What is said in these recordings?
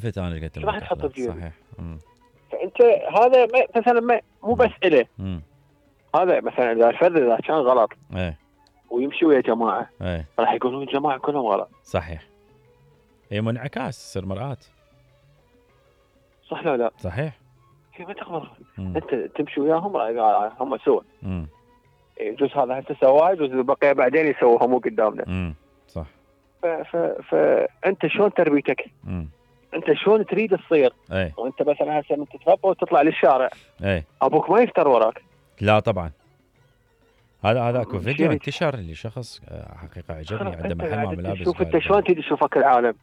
شفت انا قلت راح تحط بجيبي؟ صحيح. فانت هذا مثلا مو بس اله. هذا مثلا اذا الفرد اذا كان غلط ويمشي ويا جماعه راح يقولون الجماعه كلهم غلط. صحيح. هي منعكاس، تصير مرآة. صح لا لا؟ صحيح. هي ما تقبل. انت تمشي وياهم هم سوى. يجوز هذا هسه سواه، يجوز البقيه بعدين يسووها مو قدامنا. صح. فانت شلون تربيتك؟ انت شلون تريد تصير؟ وانت مثلا هسه من تتربى وتطلع للشارع ابوك ما يفتر وراك. لا طبعا. هذا اكو فيديو انتشر لشخص حقيقه عجبني عنده محل ملابس. شوف انت شلون تريد تشوفك العالم.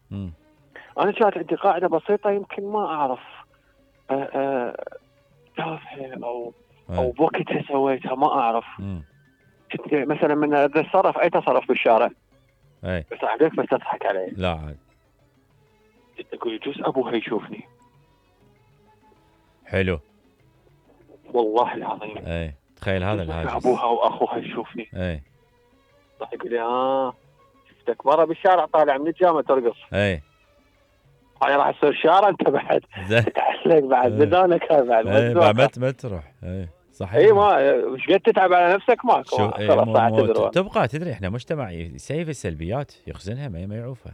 انا كانت عندي قاعده بسيطه يمكن ما اعرف تافهه او بوقتها سويتها ما اعرف. كنت مثلا من اتصرف اي تصرف بالشارع بس عليك بس تضحك علي. لا عاد تقول يجوز ابوها يشوفني. حلو والله العظيم. تخيل هذا الهاجس. ابوها واخوها يشوفني. راح يقول لي شفتك مره بالشارع طالع من الجامعه ترقص. هاي راح تصير شارع انت بعد تتعلق بعد بدانك بعد ما تروح. صحيح. ما ايش قد تتعب على نفسك ماكو. تبقى تدري احنا مجتمع يسيف السلبيات يخزنها ما يعوفها.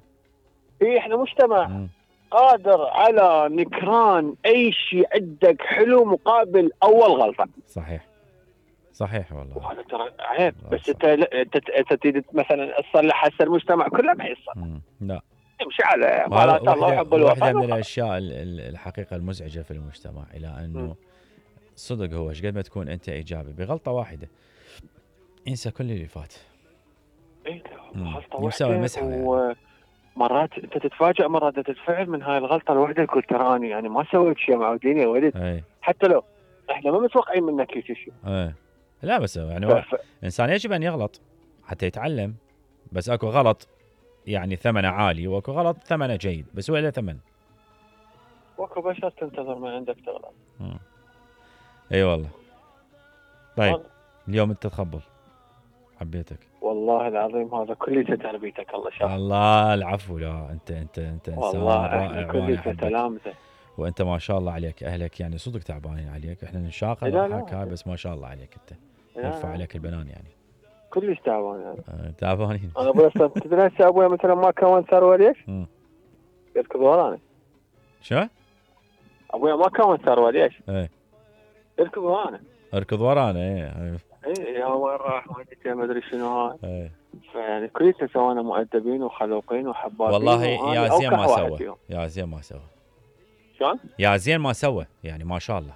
احنا مجتمع قادر على نكران اي شيء عندك حلو مقابل اول غلطه. صحيح والله. وهذا ترى عيب. بس انت تريد مثلا تصلح هسه المجتمع كله ما يصلح. لا يمشي على مرات الله وحب الوطن. واحده من الاشياء الحقيقه المزعجه في المجتمع الى انه صدق هو ايش قد ما تكون انت ايجابي بغلطه واحده انسى كل اللي فات. غلطه واحده. مرات انت تتفاجئ مرات تتفعل من هاي الغلطه الواحده تقول تراني يعني ما سويت شيء معودين يا ولد. حتى لو احنا ما متوقعين منك شيء. لا بس يعني الانسان يجب ان يغلط حتى يتعلم. بس اكو غلط يعني ثمنه عالي واكو غلط ثمنه جيد بس هو له ثمن. واكو بشر تنتظر ما عندك تغلط. اي والله. طيب اليوم انت تخبل حبيتك والله العظيم. هذا كله تربيتك الله شاف. الله العفو. لا انت انسان رائع وانا احبك. وانت ما شاء الله عليك اهلك يعني صدق تعبانين عليك. احنا نشاقر ونضحك بس ما شاء الله عليك انت. يرفع عليك البنان يعني. كلش تعبان يعني. تعبانين. انا ابوي تدري هسه ابوي مثلا ما كون ثروه ليش؟ يركض ورانا. شو؟ ابوي ما كون ثروه ليش؟ يركض ورانا. اركض ورانا. يا وين راح ما ادري شنو هاي. فيعني كلنا سوانا مؤدبين وخلوقين وحبابين. والله يا زين ما سوى. يا زين ما سوى. شلون؟ يا زين ما سوى يعني ما شاء الله.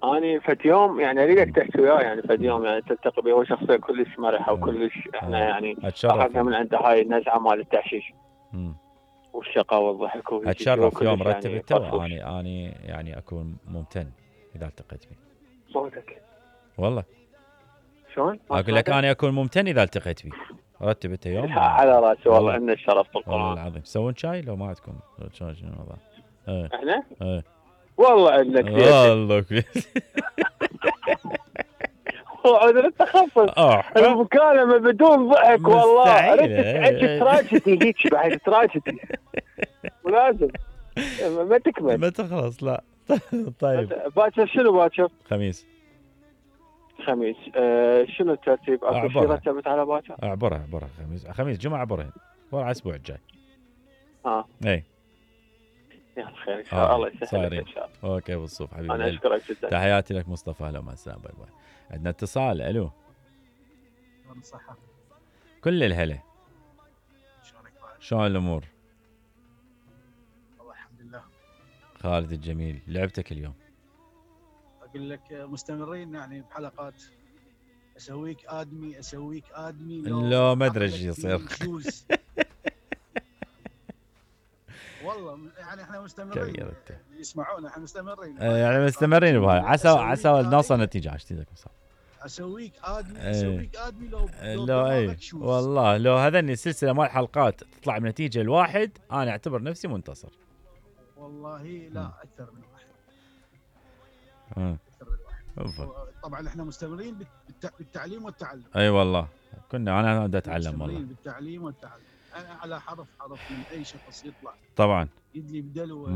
اني فت يوم يعني اريدك تحكي وياه يعني فت يوم يعني تلتقي به. هو شخصيه كلش مرحه وكلش احنا يعني اخذنا من عنده هاي النزعه مال التحشيش والشقاء والضحك. اتشرف يوم رتبته واني يعني اكون ممتن اذا التقيت به. صوتك والله شلون؟ اقول لك انا اكون ممتن اذا التقيت به. رتبته يوم على راسي والله. عندنا الشرف بالقران والله العظيم. تسوون شاي لو ما عندكم شلون الوضع؟ احنا؟ والله عندنا كثير. والله كثير. وعود التخفض المكالمه بدون ضحك والله. اريد تراجتي هيك بعد تراجتي ولازم ما تكمل ما تخلص. لا طيب باكر شنو باكر؟ خميس. شنو الترتيب؟ اكو شيء رتبت على باكر؟ اعبرها خميس جمعه اعبرها ورا الاسبوع الجاي. اي يا خير ان شاء الله يسهل ان شاء الله. اوكي بالصوف حبيبي. انا اشكرك جدا. تحياتي لك مصطفى. اهلا وسهلا. باي باي. عندنا اتصال. الو. صحة. كل الهلا. شلون الامور؟ والله الحمد لله. خالد الجميل لعبتك اليوم. اقول لك مستمرين يعني بحلقات اسويك ادمي لو ما ادري ايش يصير. والله يعني احنا مستمرين يسمعونا. احنا مستمرين يعني مستمرين بهاي. عسى نوصل نتيجه عشتيك اسويك ادمي لو اي والله لو هذني السلسله مال حلقات تطلع بنتيجه الواحد انا اعتبر نفسي منتصر. والله لا اكثر من واحد. اكثر من واحد. طبعا احنا مستمرين بالتعليم والتعلم. اي والله كنا انا بدي اتعلم والله. بالتعليم والتعلم. انا على حرف من اي شخص يطلع طبعا يدلي بدلوه